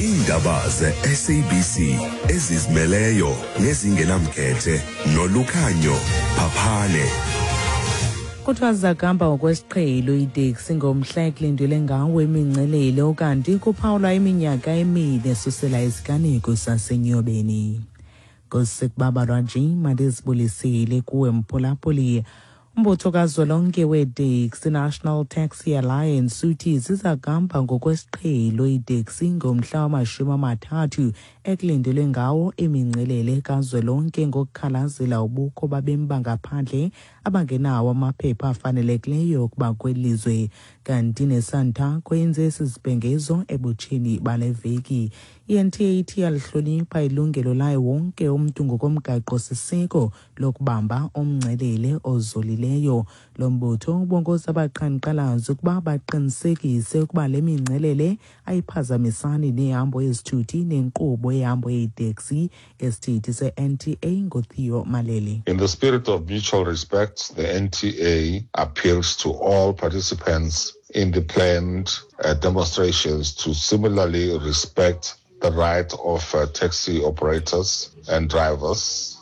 Iindaba ze-SABC ezizimeleyo nezingenamkhethe nolukhanyo Phaphane. Kuthiwa zizakamba ngokwesiqhelo iiteksi ngomhla ekulindelwe ngawo imingcelele ukanti kuphawulwa iminyaka emine esusela isiganeko sasenyobeni. Ngosekubabalwa nje mandizibulisile kuwe mphulaphuli. Umbutho kazwelonke weeteksi National Taxi Alliance uthi ziza kuhamba ngokwesiqhelo iiteksi ngomhla wamashumi amathathu ekulindelwe ngawo imingcelele kazwelonke ngokukhalazela ubukho babemi bangaphandle abangenawo amaphepha afanelekileyo ukuba kweli lizwe. Kanti neSantaco yenze esi sibhengezo ebutsheni bale veki. I-NTA ithi iyalihlonipha ilungelo layo wonke umntu ngokomgaqo-siseko lokubamba umngcelele ozolileyo. Lo mbutho ubongoza abaqhankqalazi ukuba baqinisekise ukuba le mingcelele ayiphazamisani nehambo yezithuthi nenkqubo yehambo yeeteksi. Isithethi se-NTA nguTheo Malele. In the spirit of mutual respect, the NTA appeals to all participants in the planned uh, demonstrations to similarly respect the right of uh, taxi operators and drivers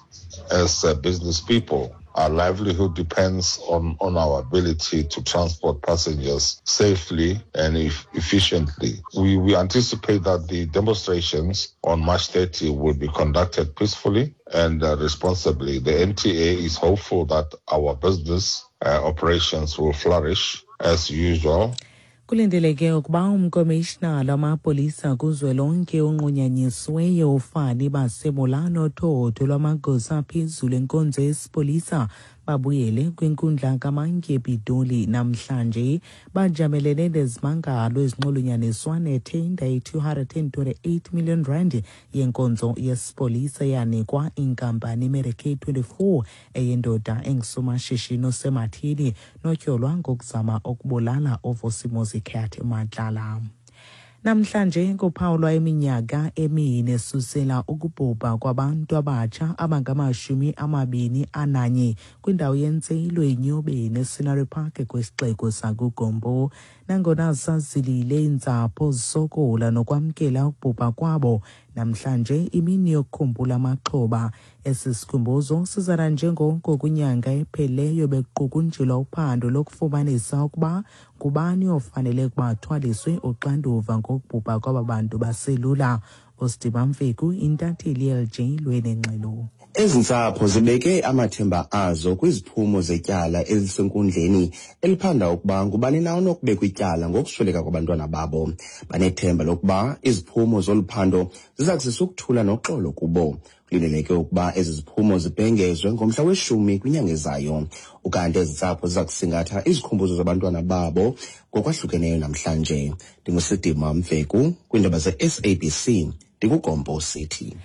as uh, business people. Our livelihood depends on, on our ability to transport passengers safely and efficiently. We, we anticipate that the demonstrations on March 30 will be conducted peacefully and uh, responsibly. The NTA is hopeful that our business uh, operations will flourish as usual. Kulindeleke ukuba umkomishinala wamapolisa kuzwelonke onqunyanyisiweyo uFani Masemola nothotho lwamagosa aphezulu enkonzo yesipolisa babuyele kwinkundla kamantyi ePitoli namhlanje. Bajamelene nezimangalo ezinxulunyaniswa nethenda ye-228 million rand yenkonzo yesipolisa eyanikwa inkampani iMedicaid 24 eyendoda engusomashishini osematheni notyholwa ngokuzama ukubulala uVusimuzi Cat Matlala. Namhlanje kuphawulwa iminyaka emine susela ukubhubha kwabantu abatsha abangamashumi amabini ananye kwindawo yentselo eNyobeni eScenery Park kwisixeko sakuGompo. Nangona zazilile iintsapho zisokola nokwamkela ukubhubha kwabo, namhlanje imini yokukhumbula amaxhoba. Esi sikhumbuzo sizana njengoko kwinyanga epheleyo bekuqukunjelwa uphando lokufumanisa ukuba ngubani ofanele ukuba athwaliswe uxanduva ngokubhubha kwaba bantu baselula. USidiba Mfeku, intatheli yeLJ lwenengxelo. Ezi ntsapho zibeke amathemba azo kwiziphumo zetyala elisenkundleni eliphanda ukuba ngubani na onokubekwa ityala ngokusweleka kwabantwana babo. Banethemba lokuba iziphumo zolu phando ziza kuzisa ukuthula noxolo kubo. Kulindeleke ukuba ezi ziphumo zibhengezwe ngomhla weshumi kwinyanga ezayo. Ukanti ezi ntsapho ziza kusingatha izikhumbuzo zabantwana babo ngokwahlukeneyo namhlanje. Ndingusidima Mveku kwiindaba ze-SABC ndikuGompo City.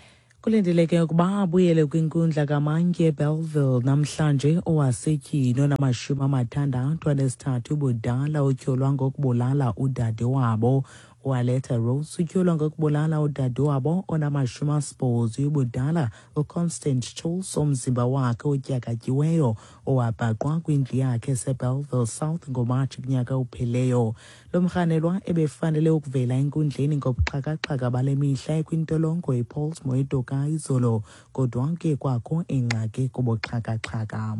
Kulindeleke ukuba abuyele kwinkundla kamantyi eBellville namhlanje owasetyhini onamashumi amathandathu anesithathu ubudala otyholwa ngokubulala udade wabo. UAletta Rose utyholwa ngokubulala udade wabo onamashumi asibhozo ubudala uConstant Charles omzimba wakhe otyakatyiweyo owabhaqwa kwindlu yakhe eseBellville South ngoMatshi kunyaka opheleyo. Lo mrhanelwa ebefanele ukuvela enkundleni ngobuxhakaxhaka bale mihla ekwintolongo iPollsmoor eToka izolo, kodwa ke kwakho ingxaki kubuxhakaxhaka.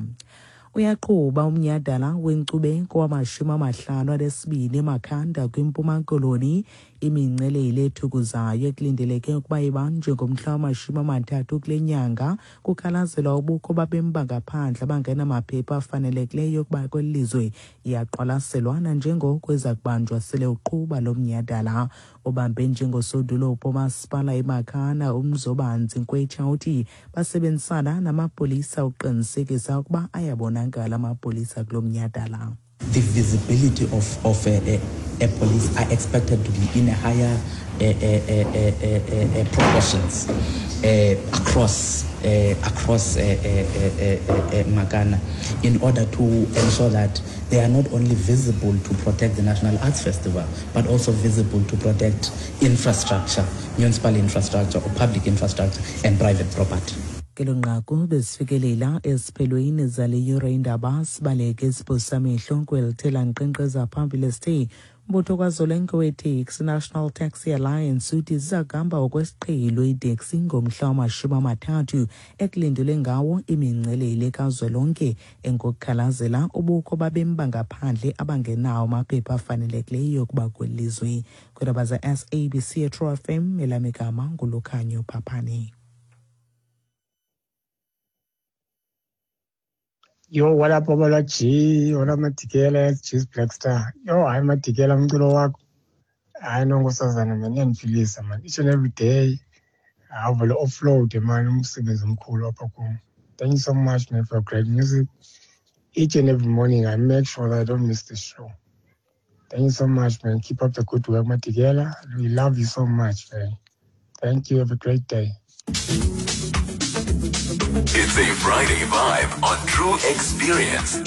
Uyaqhuba umnyhadala wenkcubeko wamashumi amahlanu anesibini eMakhanda kwiMpuma Koloni. Imingcelele ethukuzayo ekulindeleke ukuba ibanjwe ngomhla wamashumi amathathu kule nyanga kukhalazelwa ubukho babemi bangaphandle abangenamaphepha afanelekileyo ukuba kweli lizwe iyaqwalaselwa nanjengoko iza kubanjwa sele uqhuba lo mnyhadala. Obambe njengosodolophu womasipala iMakhanda uMzobanzi Nkwetsha uthi basebenzisana namapolisa ukuqinisekisa ukuba ayabonakala amapolisa kulo mnyhadala. The visibility of, of a, a, a police are expected to be in a higher uh, uh, uh, proportions across across Makana in order to ensure that they are not only visible to protect the National Arts Festival, but also visible to protect infrastructure, municipal infrastructure or public infrastructure and private property. Ngelo nqaku besifikelela esiphelweni zale yure indaba sibaleke siphosa amehlo kweli thela nkqenkqeza phambili esithe Umbutho kazwelonke weeteksi, National Taxi Alliance, uthi ziza kuhamba okwesiqhelo iiteksi ngomhla wama-30 ekulindelwe ngawo imingcelele kazwelonke engokukhalazela ubukho babemi bangaphandle abangenawo amaphepha afanelekileyo ukuba kweli lizwe. Kwiindaba ze-SABC eTrue FM, elam igama nguLukhanyo Phaphane. Yo, what up, Babalwa G? What up, Madikela, G's Black Star. Yo, hayi Madikela, umculo wakho. Hayi no nkosazana man, iyandiphilisa man. Each and every day, awuvele offload man, umsebenzi omkhulu apha kum. Thank you so much man for great music. Each and every morning I make sure that I don't miss the show. Thank you so much man. Keep up the good work, Madikela. We love you so much man. Thank you. Have a great day. It's a Friday vibe on True Experience.